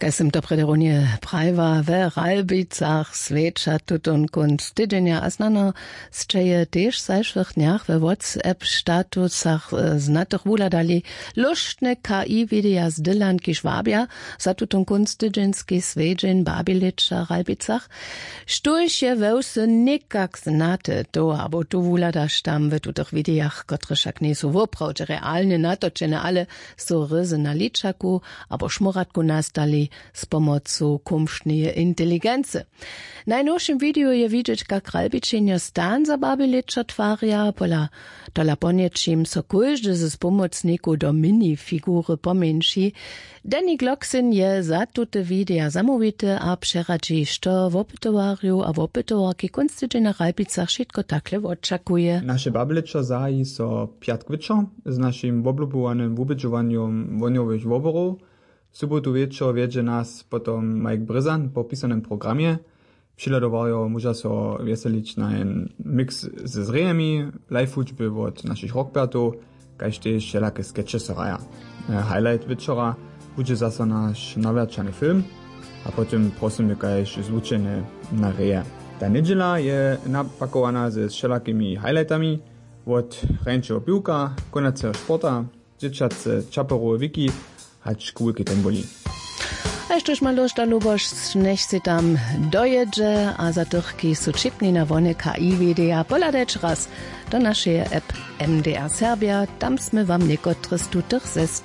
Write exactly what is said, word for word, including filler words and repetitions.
Kaž sym to prjedy runje prajiła, we Ralbicach swjeća tutón kónc tydźenja a snano sće je tež w zašłych dnjach we WhatsApp statusach znatych wuhladali lóštne K I-wideja z Dylan, kiž wabja za tutón kónc tydźenski swjedźeń w Babilěčach w Ralbicach. Štóž je we wsy někak znate, to abo tu wuhladaš tam w tutych widejach, kotrež wšak njejsu woprawdźe realnje natočene, ale su ryzy na ličaku abo šmóratku nastali z pomocu kumšneje inteligency. W najnowšim wideju je widźeć, kak Ralbičenjo stan za Babilěčo twarja. Pola tola ponjećim so kóždy z pomocnikow do minifigury pomjeńši. Danny Glocksin je za tute wideja zamołwity a přeradźi, što wopytowarjow a wopytowarki kónc tydźenja w Ralbicach wšitko takle wočakuje. Naše Babilěčo zahaji so pjatk wječor z našim woblubowanym wubědźowanjom wohnjowych woborow. W sobotu wječor wjedźe nas potom Mike Brězan po pisanym programje. Přihladowarjo móža so wjeselić na jen mix ze zrejemi, live hudźby wot našich rockpertow, kaž tež wšelake skeće so hraja. E, highlight wječora budźe zaso naš nawjaćany film a potom prosymy kaž zwučenje na reje. Ta njedźela je napakowana ze wšelakimi highlightami, wot hrjeńšeho piwka, konaceho sporta, dźěćace čaperowe wiki hač k wulkej tomboli. A štóž ma lóšta lubosć, njech sej tam dojědźe. A za tych, kiž su ćipni na wone K I-wideja, pohladajće raz do našeje app M D R Serbja. Tam smy wam někotre z tutych zestajić.